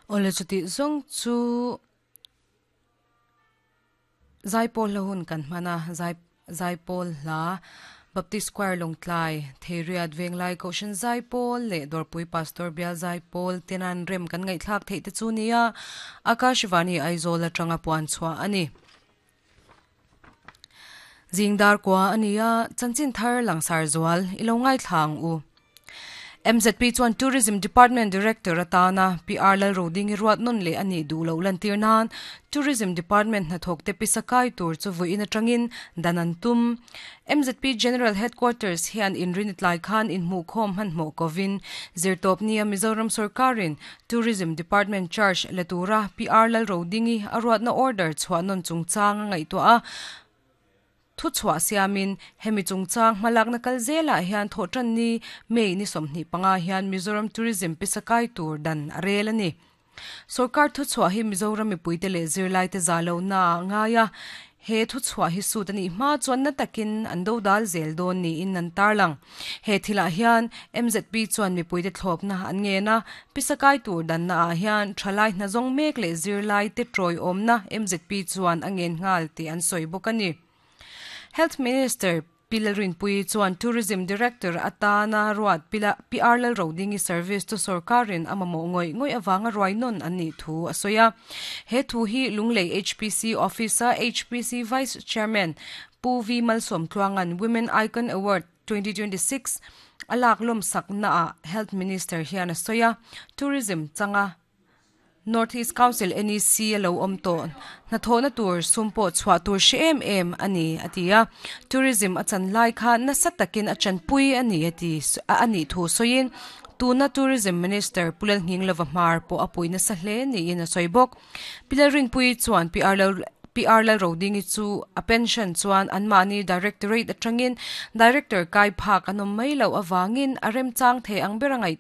Awle chuti zawng chu Zaipawl hla hun kan hman a, Zai Zaipawl hla Baptist Choir Lawngtlai, Theiriat Venglai Kohhran Zaipawl leh Dawrpui Pastor Bial Zaipawl tenan rem kan ngaihthlak theih te chu nia Akashvani Aizawl atanga puan chhuah a ni. Zingdar kua a ni a, chanchin thar langsar zual i lo ngaithla ang u. MZP chuan Tourism Department Director atana PR Lalrodingi ruat nawn leh a nih duh loh lantir nan Tourism Department hnathawkte pisa kai tur chu vawiin atangin dan an tum. MZP General Headquarters hian inrin tlai khan inhmuhkhawm hmanhmawh kovin zirtawpnia Mizoram sawrkarin Tourism Department charge la tura PR Lalrodingi a ruatna order chhuah nawn chungchang a ngaihtuah a, Thu chhuah siamin, hemi chungchang hmalakna kal zelah hian thawhtanni May ni 25 hian Mizoram Tourism pisa kai tur dan a rel a ni. Sorkar thuchhuah hi Mizoram mipuite leh zirlaite za lohna ah a ngai a, he thuchhuah hi sut a nih hma chuan na takin an dodal zel dawn niin an tarlang. He thilah hian MZP chuan mipuite thlawpna an ngen a, pisa kai tur danna ah hian thalai hnazawng mek leh zirlaite tawiawmna MZP chuan a ngen nghal tih an sawi bawk a ni. Health Minister Pi Lalrinpuii chuan Tourism Director atana ruat Pi R Lalrodingi service chu sorkarin a mamawh ngawih ngawih avanga ruai nawn an nih thu a sawi a. He thu hi Lunglei HPC Office-a HPC Vice Chairman Pu V Malsawmtluanga'n Women Icon Award 2026 a lak lawmsaknaah Health Minister hian a sawi a, Tourism changa North East Council, NEC, a lo awm tawh hnathawhna tur sum pawh chhuah tur hre em em a ni, a ti a. Tourism a chan lai kha nasa takin a chanpui a ni a ti a nih thu sawiin tuna Tourism Minister Pu Lalnghinglova hmar pawh a pui nasa hle niin a sawi bawk. Pi Lalrinpuii chuan Pi PR Lalrodingi chu a pension chuan anmahni Directorate atangin Director kai phak an awm mai loh avangin a remchang thei ang ber a ngaih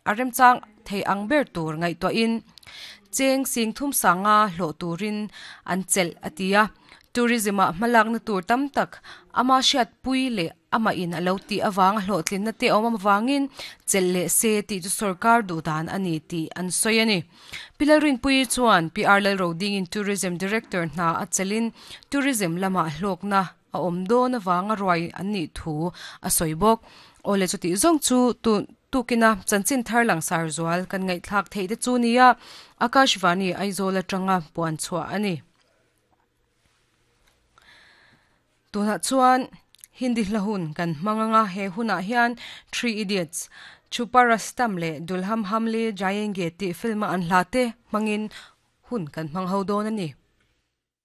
a remchang thei ang ber tur ngaihtuahin cheng sing thum sanga hlawh turin an chelh a ti a. Tourism-ah hmalakna tur tam tak ama hriatpui leh Amah in a lo tih avanga hlawhtlinna te awm avangin chelh leh se tih chu sorkar duh dan a ni tih an sawi a ni. Pi Lalrinpuii chuan Pi R Lalrodingin Tourism Director hna a chelhin Tourism lamah hlawkna a awm dawn avanga ruai an nih thu a sawi bawk. Awle chutih zawng chu tukina chanchin thar langsar zual kan ngaihthlak theih te chu nia Akashvani Aizawl atanga puan chhuah a ni. Tunah chuan Hindi hla hun kan hmang anga he hunah hian Three Idiots, Chupa Rustam leh Dulham Hamle Jayenge tih film a an hla te hmangin hun kan hmang ho dawn a ni.